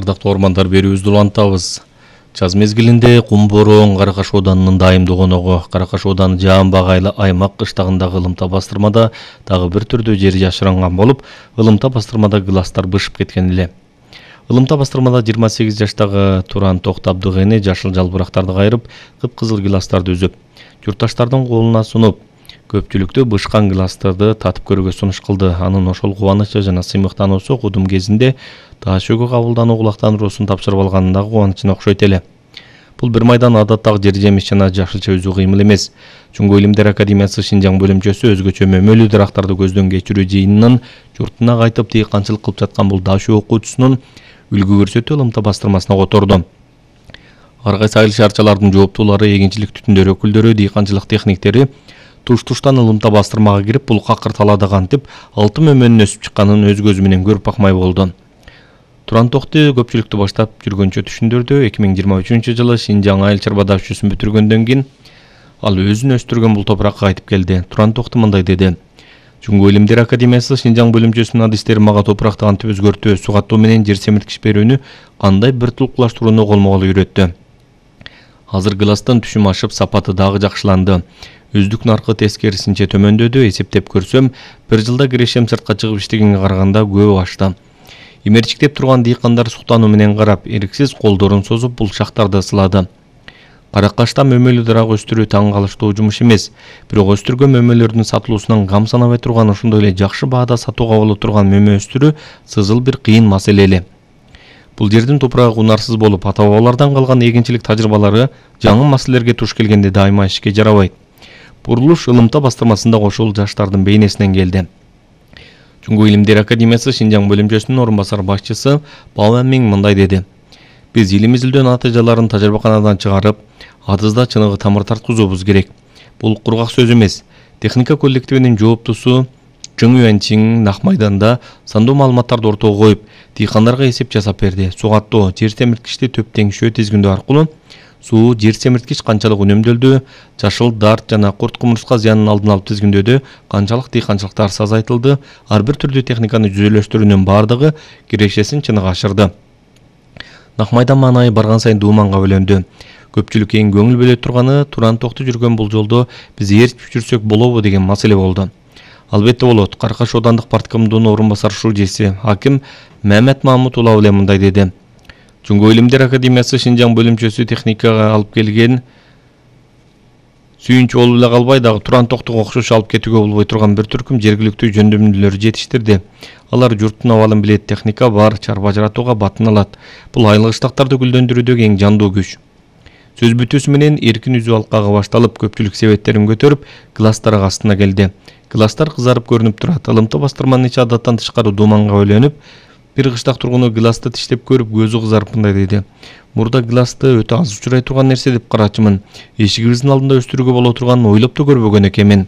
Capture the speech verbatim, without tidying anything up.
Ардактуу ормандар, берүүбүздү улантабыз. Жаз мезгилинде Кум Бороон Кара Каш Оданынын дайымдуу коногу Кара Каш Оданын Жаамбагайлы аймак кыштагындагы ылымта бастырмада дагы бир түрдүү жери жашырынган болуп, ылымта бастырмада гыластар бышып кеткен эле. Ылымта бастырмада жыйырма сегиз жаштагы Туран Токтабдыгыны жашыл жалбырактарды кайрып, кыпкызыл гыластарды үзүп, журтташтардын колуна сунуп, көпчүлүктү бышкан гыластарды татып көрүүгө сунуш кылды. Анын ошол кубанычы жана сыймыктануусу кудум кезинде таш өгө кабылдануу кулактандыруусун тапшырып алганындагы кубанычына окшойт эле. Бул бир майдан адаттагы жер жемиш жана жашылча үзүү кыймыл эмес. Чуңгу илимдер академиясы Шинжаң бөлүмчөсү өзгөчө мөмөлүү дарактарды көздөн кечирүү жыйынынын журтуна кайтып дыйканчылык кылып жаткан бул дашуу окуучусунун үлгү көрсөтүү ылымта бастырмасына которду. Ар кайсы айыл шаарчалардын жооптуулары, эгинчилик түтүндөрү өкүлдөрү, дыйканчылык техниктери туш-туштан ылымта бастырмага кирип, бул какыр талаада кантип алты мөмөнүн өсүп чыкканын өз көзү менен көрүп бакмай болду. Туран Токты көпчүлүктү баштап жүргөнчө түшүндүрдү. эки миң жыйырма үчүнчү жылы Шинжаң айыл чарба дашуусун бүтүргөндөн кийин ал өзүн өстүргөн бул топуракка кайтып келди. Туран Токты мындай деди: Чуңгу илимдер академиясы Шинжаң бөлүмчөсүнүн адистери мага топуракты кантип өзгөртүү, сугаттоо менен жер семирткич берүүнү кандай бир тулукташтырууну колмо-кол үйрөттү. Азыр гыластын түшүм ашып, сапаты дагы жакшыланды. Үздүк наркы тескерисинче төмөндөдү. Эсептеп көрсөм, бир жылда кирешем сыртка чыгып иштегенге караганда көп ашты. Имерчиктеп турган дыйкандар суктануу менен карап, эриксиз колдорун созуп бул шактарды ысылады. Кара Кашта мөмөлүү дарак өстүрүү таң калыштуу жумуш эмес. Бирок өстүргөн мөмөлөрдүн сатылуусунан кам санабай турган, ошондой эле жакшы баада сатууга боло турган мөмө өстүрүү сызыл бир кыйын маселе эле. Бул жердин топурагы унарсыз болуп, ата-бабалардан калган эгинчилик тажрыйбалары жаңы маселелерге туш келгенде дайыма ишке жарабайт. Бурулуш ылымта бастырмасында ошол жаштардын бейнесинен келди. Чуңгу илимдер академиясы Шинжаң бөлүмчөсүнүн орун басар башчысы Баба Миң мындай деди: Биз илим изилдөө натыйжаларын тажрыйбаканадан чыгарып, атызда чыныгы тамыр тарткызуубуз керек. Бул кургак сөз эмес. Техника коллективинин жооптусу Чың Юанчин Нак майданда сандуу маалыматтарды ортого коюп, дыйкандарга эсеп жасап берди. Сугаттоо, жер семирткичти төп теңшөө тизгиндөө аркылуу суу, жер семирткич канчалык үнөмдөлдү, жашыл дарт жана курт кумурска зыянын алдын алып тизгиндөөдө канчалык дыйканчылыктар азайтылды, ар бир түрдүү техниканы жүзөлөштүрүүнүн бардыгы кирешесин чыныгы ашырды. Нак майдан маанайы барган сайын дууманга бөлөндү. Көпчүлүк эң көңүл бөлө турганы Туран Токты жүргөн бул жолдо биз ээрчип жүрсөк болобу деген маселе болду. Албетте болот. Кара Каш Оодандык парткомдун орун басар шужеси аким Мамет Мамут улуу эле мындай деди: Чуңгу илимдер академиясы Шинжаң бөлүмчөсү техникага алып келген сүйүнчү болуп эле калбай, дагы Туран Токтуга окшош алып кетүүгө болбой турган бир түркүм жергиликтүү жөндөмдүүлөр жетиштирди. Алар журттун абалын билет, техника бар, чарба жаратууга батын алат. Бул айыл кыштактарды гүлдөндүрүүдөгү эң жандуу күч. Сөз бүтүүсү менен эркин үзүү алкагы башталып, көпчүлүк себеттерин көтөрүп, гыластар астына келди. Гыластар кызарып көрүнүп турат. Ылымта бастырманын ичи адаттан тышкары дууманга бөлөнүп, бир кыштак тургуну гыласты тиштеп көрүп, көзү кызарып мындай деди: Мурда гыласты өтө аз учурай турган нерсе деп карачымын. Эшигибиздин алдында өстүрүүгө боло турганын ойлоп да көрбөгөн экенмин.